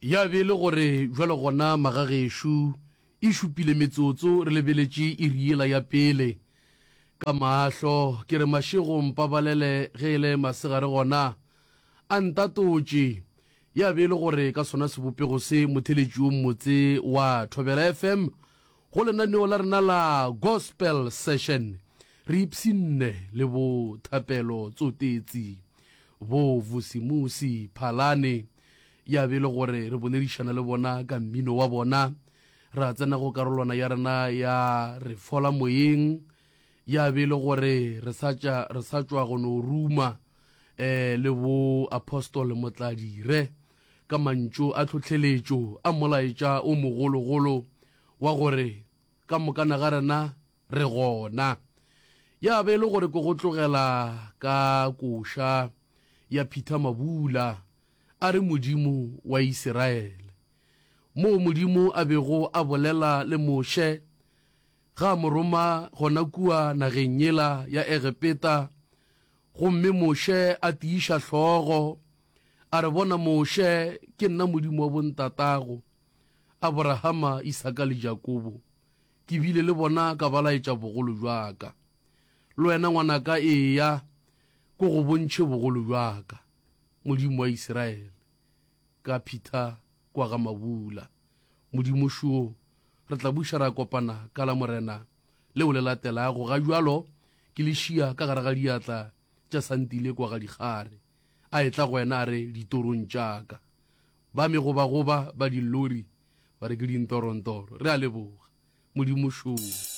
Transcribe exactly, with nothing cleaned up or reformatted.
Ya be e le gore bjalo gona magagešo e šupile metsotso re lebeletše iri yela ya pele ka mahlo. Ke re mašego mpabalele ge e le masegare gona a ntatotše. Ya be e le gore ka sona sebopego se motheletši o mmotse wa Thobela F M go lenaneo la rena la Gospel Session re ipshinne le bo Thapelo Tsotetsi, bo Vusimusi Phalane. Ya be e le gore re boledišana le bona ka mmino wa bona. Ra tsena go karolwana ya rena ya re fola moyeng. Ya be e le gore re sa tša re sa tšwa go no ruma eh le bo Apostle Motladire ka mantšu a tlhohleletšo a molaetša o mogologolo wa gore ka mokana ga rena re gona. Ya be e le gore ke go tlogela ka koša ya Peter Mabula a re Modimo wa Isiraele, moo Modimo a bego a bolela le Moshe ga a mo roma gona kua nageng yela ya Egepeta, gomme Moshe a tiiša hlogo a re, Bona Moshe, ke nna Modimo wa bontatago, Aborahama, Isaka le Jakobo. Ke bile le bona ka ba laetša bogolo bja ka. Le wena ngwanaka eya ko go bontšhe bogolo bja ka. Modimo wa Isiraele, ka Peter kwa ga Mabula. Modimo šo, re tla buša ra kopana ka la Morena leo le latelago. Ga bjalo ke le šia ka gare ga diatla tša Santile kwa ga Dikgare. A etla go wena a re ditorong tša ka. Ba megobagoba ba dillori ba re ke dintorontoro. Re a leboga. Modimo šo.